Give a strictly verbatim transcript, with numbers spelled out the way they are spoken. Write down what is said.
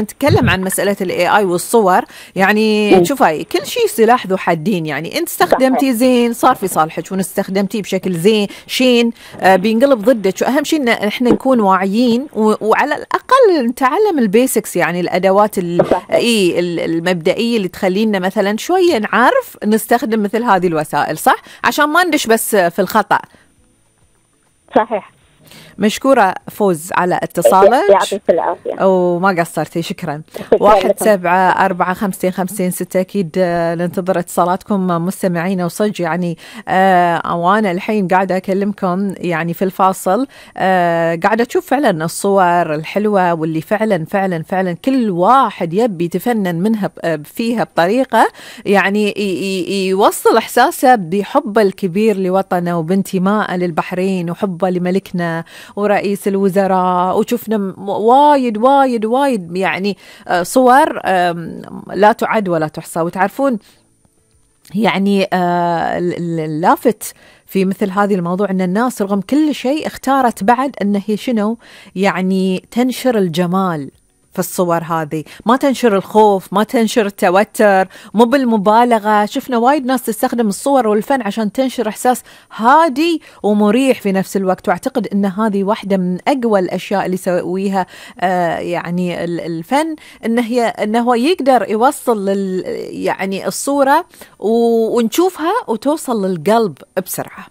نتكلم عن مسألة الاي اي والصور، يعني مم. شوفي كل شيء سلاح ذو حدين. يعني انت صحيح. استخدمتي زين صار في صالحك، وان استخدمتيه بشكل زين شين آه بينقلب ضدك. واهم شيء ان احنا نكون واعيين، و- وعلى الاقل نتعلم البيسكس، يعني الادوات ال- صحيح. اي ال- المبدئية اللي تخلينا مثلا شوية نعرف نستخدم مثل هذه الوسائل، صح؟ عشان ما ندش بس في الخطأ. صحيح. مشكورة فوز على اتصالك، يعطيك العافية وما قصرتي، شكرا. شكراً واحد لكم. سبعة أربعة خمسين خمسين ستة. أكيد آه، ننتظر اتصالاتكم مستمعين وصج. يعني آه وأنا الحين قاعدة أكلمكم يعني في الفاصل آه قاعدة أشوف فعلا الصور الحلوة، واللي فعلا فعلا فعلا كل واحد يبي يتفنن منها ب- فيها بطريقة يعني ي- ي- يوصل إحساسه بحبه الكبير لوطنه، وبانتمائه للبحرين، وحبه لملكنا ورئيس الوزراء. وشفنا م- وايد وايد وايد يعني آه، صور آم، لا تعد ولا تحصى. وتعرفون يعني آه، ال- ال- اللافت في مثل هذه الموضوع أن الناس رغم كل شيء اختارت بعد أن هي شنو يعني تنشر الجمال في الصور هذه، ما تنشر الخوف، ما تنشر التوتر، مو بالمبالغة. شفنا وايد ناس تستخدم الصور والفن عشان تنشر إحساس هادي ومريح في نفس الوقت. وأعتقد أن هذه واحدة من أقوى الأشياء اللي يسويها آه يعني ال- الفن، أنه هي أنه هو يقدر يوصل لل يعني الصورة و- ونشوفها وتوصل للقلب بسرعة.